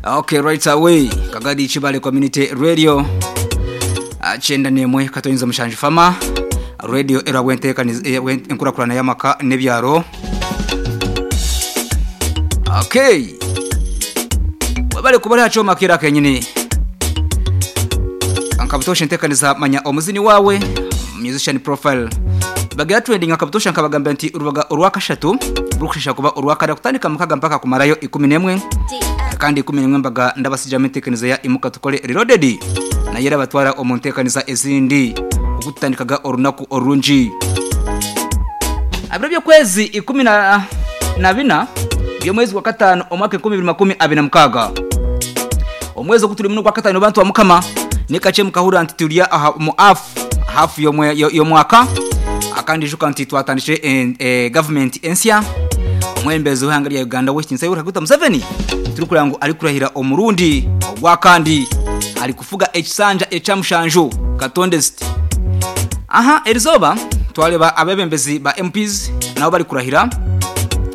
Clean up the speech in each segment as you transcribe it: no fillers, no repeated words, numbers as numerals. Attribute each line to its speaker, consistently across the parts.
Speaker 1: Okay, right away. Kagadi Kibale Community Radio. Kyenda n'emwe katoinza mushanju fama. Radio era bwentekaniza enkurakurana y'amaka n'ebyaro. Okay. Webale kuba aha kyoma kera kenyini. Nkabutosha entekaniza manya omuzini wawe musician profile. Bagira trending akabutosha nkabagambira nti urubaga orwakashatu rukushisha kuba orwakada kutandika mukaga mpaka kumarayo 11 kandi 11 mbaga ndabasijamo entekaniza ya imuka tukole reloaded naye era batwara omu ntekaniza ezindi okutandikaga orunaku orungi abiro by'okwezi ikumi na na bina by'omwezi gwa katano omwaka 2026 omwezi ogu turimu n'ogwa katano bantu ba mukama nikakye mukahurira nti turi aha mu half half y'omwaka akandi ijuka nti twatandikire government ensya omwebembezi w'eihanga rya Uganda Owekitiinisa Yoweri Kaguta Museveni turikureba ngu arikurahira omurundi ogwakandi arikufuga ekisanja ekya mushanju katonde ziti aha erizooba twareba abebembezi ba MPs nabo barikurahira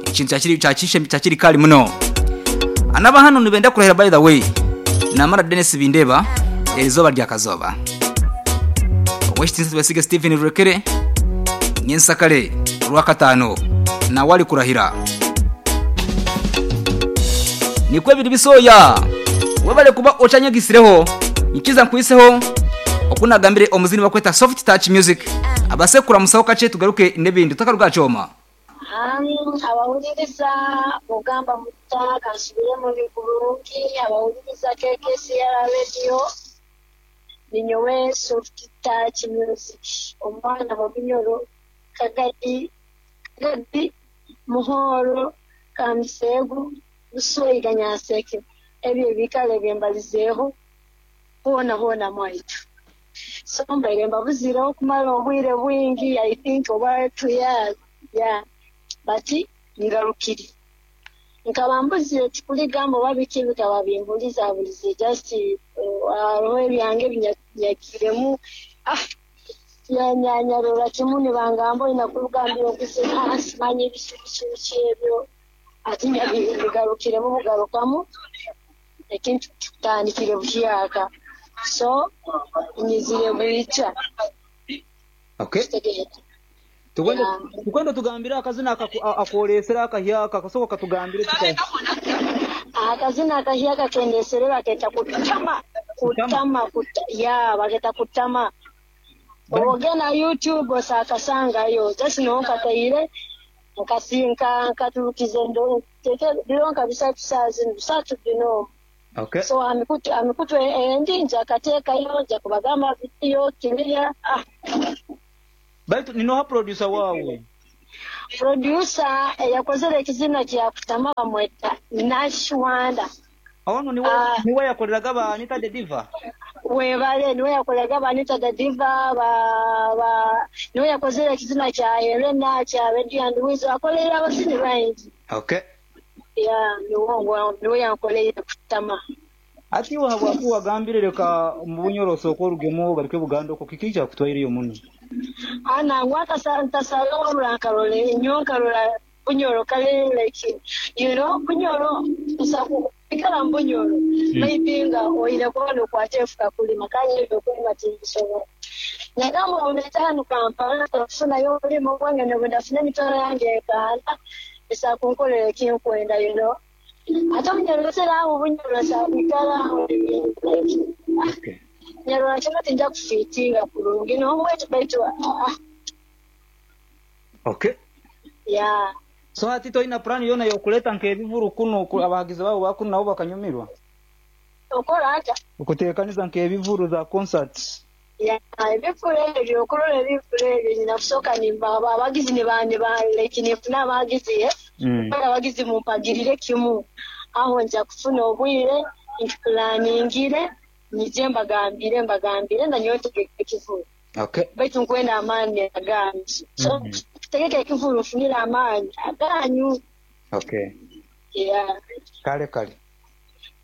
Speaker 1: ekintu kyakiri kari muno anaba hanu nibenda kurahira by the way namara Denis Bindeba erizooba rya kazooba Owekitiinisa Twesige Stephen Rurekere Nyensakare orwakataano nawe arikurahira. Nikwo biri bisooya. Webale kuba okyanyegisireho. Nyikiza nkuhiseho oku nagambire omuzini bakweta Soft Touch Music abase kukuramusaho kakye tugaruke n'ebindi tutakaruga aha kyoma.
Speaker 2: Abawuliriza mugamba mutta kansubire muli kurungi abawuliriza KKCR Radio ninyowe Soft Touch Music omwana Bobinyoro Kagadi Kagadi Muhoro Kamuseegu Busweiga Nyanseke ebyo ebikaro ebyembalizeeho hoona hoona mwaitu. So mbaire mbabuzireho okumara obwire bwingi I think oba 2 years yeah but ngarukire. Nkaba mbuzire tikuligamba oba biki bikaba bimbulizabulize just hariho ebyange ebinyagiremu ah nyarora kimu nibangamba oine kurugambira okuzina simanyi biki biki biki ebyo ati mbigarukiremu bugarukamu ekintu kikutandikire buhyaka so nyizire bwikya.
Speaker 3: Okay.
Speaker 2: Kitegeera.
Speaker 3: Tukwenda
Speaker 2: Yeah.
Speaker 3: tukwenda tugambire akazina akoresera akahyaka kasoboka katugambire tuka
Speaker 2: Akazina akahyaka kendesere baketa kutama
Speaker 3: kutama.
Speaker 2: kutama kuta, ya baketa kutama
Speaker 3: Bali
Speaker 2: obogenda YouTube osakasangayo just nonkataire nkasinka nkaturukize ndo tete biro nka bisatu saa zino bisatu bino.
Speaker 3: Okay.
Speaker 2: So amikutu amikutu endi nja kateekayo nja kubagamba video kiriya ah.
Speaker 3: Baitu ninoha producer wawe.
Speaker 2: Producer eyakozere ekizina kya kutama bamweta Nash Wanda.
Speaker 3: Ono niwe niwe yakoreraga ba Anita the Diva.
Speaker 2: Webale niwe yakoraga ba Anita the Diva ba ba niwe yakozere ekizina kya Helena kya Radio and Weasel akolera abazini baingi.
Speaker 3: Okay.
Speaker 2: Ya niwe niwe yankoleire kutama.
Speaker 3: Ati iwe habwaki wagambire reka omu Bunyoro osooke orugemu ogaruke Buganda okwo kiki ekyakutwaireyo muno?
Speaker 2: Ana ngwaka ntasala wabula nkarora enyo nkarora Bunyoro kale like Bunyoro nsakuikara mu Bunyoro maybe nga oine kuba nokwata efuka kulima kale ebyo okulima tinbisobola nagamba ondete hanu Kampala nkufunayo omurimo gwange nobundafuna emitwaro yange ekaana nsobola kunkorera ekinkwenda ate Obunyoro aho Bunyoro nsakwikara aho like
Speaker 3: Okay.
Speaker 2: nyarora kino tinja kufiitinga kurungi n'omwetu baitu ah,
Speaker 3: Okay.
Speaker 2: ya.
Speaker 3: So hati toina plan yona yokuleta nk'ebivuru kuno abahagizi babo bakuno nabo bakanyumirwa.
Speaker 2: Okora ata?
Speaker 3: Okuteekaniza nk'ebivuru za concerts.
Speaker 2: Ya ebifuro ebyo okurora ebifuro ebyo nyina kusooka nimba abagizi niba niba like nifuna abagizi eh abagizi mumpagirire kimu aho nja kufuna obwire nkipulaningire nyije mbagambire mbagambire nanyowe ntegeke ekivuru.
Speaker 3: Okay.
Speaker 2: Baitu nkwenda amaani aganyu so tutegeke ekivuru nfunire amaani aganyu.
Speaker 3: Okay.
Speaker 2: Yeah.
Speaker 3: Kale kale.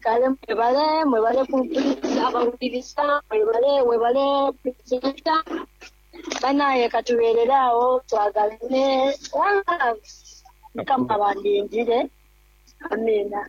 Speaker 2: Kale mwebale mwebale kumpuliriza abawuliriza mwebale webale presenter banaye katubeerere awo twagalane one love mukama abandindire amiina.